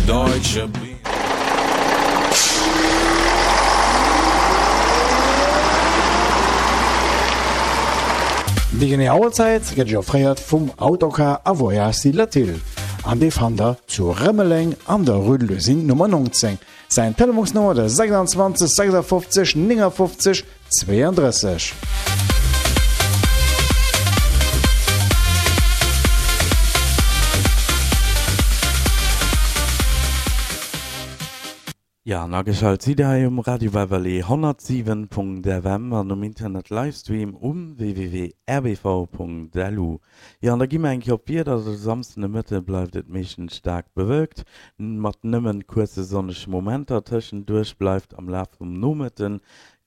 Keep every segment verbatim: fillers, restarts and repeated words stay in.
Deutsche Bier. Déi genee Auerzäit gëtt Iech offréiert vum Autocar a Voyages Latil an dee fannt der zu Rëmeleng an der Rue de l'Usine Nummer neunzéng. Säin Telefonsnummer der sechsundzwanzeg sechsundfünfzig neunundfünfzig zweiunddrësseg. Jo, an ageschalt sidd der hei um Radio Beverly honnertsiwen Punkt F M an um Internet Livestream um w w w punkt r b v punkt l u. Jo, an da gi mer eng Kéier op d'Wieder. De Samsden de Mëtte bleift et meeschtens staark bewölkt, mat nëmmen kuerze sonnege Momenter tëschenduerch. Bleift am Laf vum Nomëtte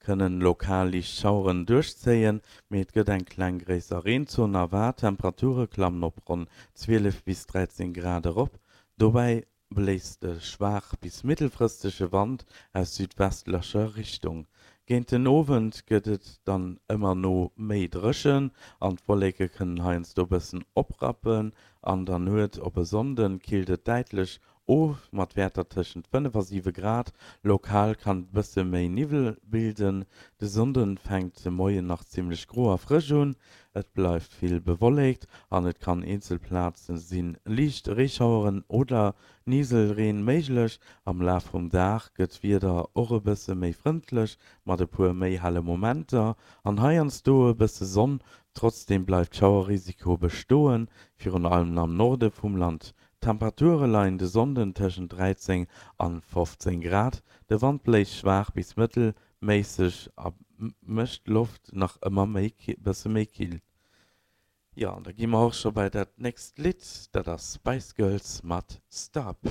kënnen lokal liicht Schaueren duerchzéien, mee et gëtt eng kleng gréisser Reenzon erwaart. D'Temperature klammen op ronn zwielef bis dräizéng Grad erop. Dobäi bléist e schwaach bis mëttelfristege Wand aus südwestlecher Richtung. Géint den Owend gëtt et dann ëmmer no méi dréchen an d'Wolleke kënnen heiansdo bëssen oprappen. An der Nuet op e Sonnde killt et däitlech of mat Wäerter tëschent fënnef a siwe Grad, lokal kann et bësse méi Niwwel bilden. De Sonnde fänkt de Moien nach zimmlech gro a frësch un, et bleift vill bewolléckt an et kann eenzel Plaze si liicht Reeschaueren oder Niselreen méiglech. Am Laf vum Dag gëtt d'Wieder och e bësse méi frëndlech mat e puer méi helle Momenter an heiansdo e bësse Sonn. Trotzdeem bleift Schauerrisiko bestoen, virun allem am Norde vum Land. D'Temperature leien de Sonnden tëschent dräizéng an fofzéng Grad. De Wand bléist schwaach bis mëttelméisseg a mécht d'Loft nach ëmmer méi bësse méi kill. Jo, an da gi mer och scho bei dat nächst Lidd, dat ass Spice Girls mat Stop.